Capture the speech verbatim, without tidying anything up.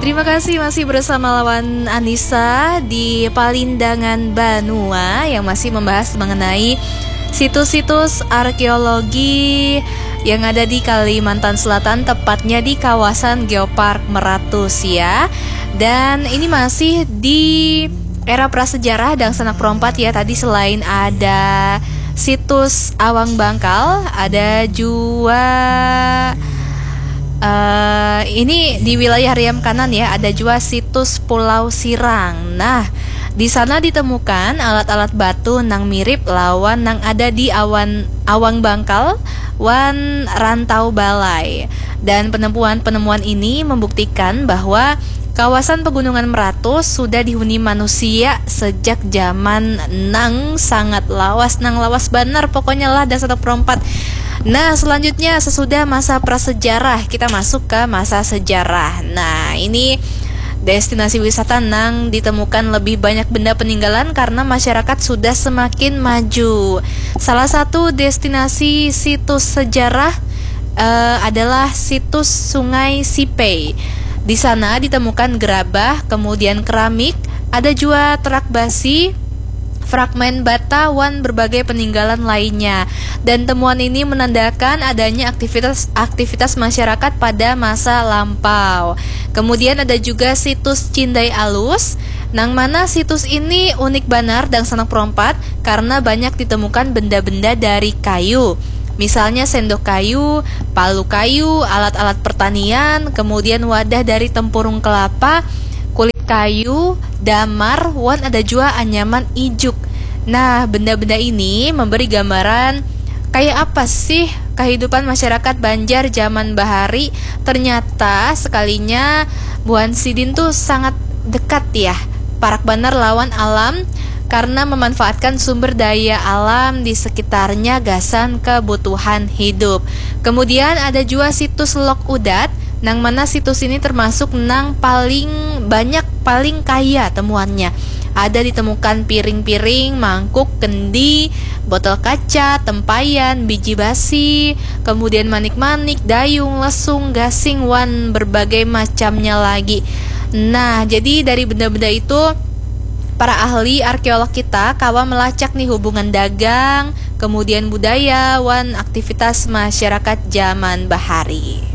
Terima kasih, masih bersama lawan Anissa di Palindangan Banua yang masih membahas mengenai situs-situs arkeologi yang ada di Kalimantan Selatan, tepatnya di kawasan Geopark Meratus ya. Dan ini masih di era prasejarah, dangsanak perompat ya. Tadi selain ada situs Awang Bangkal, ada jua, eh, ini di wilayah Riam Kanan ya, ada jua situs Pulau Sirang. Nah, di sana ditemukan alat-alat batu nang mirip lawan nang ada di awan Awang Bangkal wan Rantau Balai. Dan penemuan-penemuan ini membuktikan bahwa kawasan Pegunungan Meratus sudah dihuni manusia sejak zaman nang sangat lawas, nang lawas banar pokoknya lah, dangsanak perompat. Nah, selanjutnya, sesudah masa prasejarah, kita masuk ke masa sejarah. Nah, ini destinasi wisata nang ditemukan lebih banyak benda peninggalan karena masyarakat sudah semakin maju. Salah satu destinasi situs sejarah, eh, adalah situs Sungai Sipei. Di sana ditemukan gerabah, kemudian keramik, ada jua terak basi, fragmen bata, wan berbagai peninggalan lainnya. Dan temuan ini menandakan adanya aktivitas-aktivitas masyarakat pada masa lampau. Kemudian ada juga situs Cindai Alus, nang mana situs ini unik banar, dangsanak perompat, karena banyak ditemukan benda-benda dari kayu. Misalnya sendok kayu, palu kayu, alat-alat pertanian, kemudian wadah dari tempurung kelapa, kulit kayu, damar, wan ada jua anyaman ijuk. Nah, benda-benda ini memberi gambaran kayak apa sih kehidupan masyarakat Banjar zaman bahari. Ternyata sekalinya buhan sidin tuh sangat dekat ya, parak banar lawan alam karena memanfaatkan sumber daya alam di sekitarnya gasan kebutuhan hidup. Kemudian ada jua situs Lok Udat, nang mana situs ini termasuk nang paling banyak, paling kaya temuannya. Ada ditemukan piring-piring, mangkuk, kendi, botol kaca, tempayan, biji basi, kemudian manik-manik, dayung, lesung, gasing, wan berbagai macamnya lagi. Nah, jadi dari benda-benda itu, para ahli arkeolog kita kawa melacak nih hubungan dagang, kemudian budaya, wan aktivitas masyarakat zaman bahari.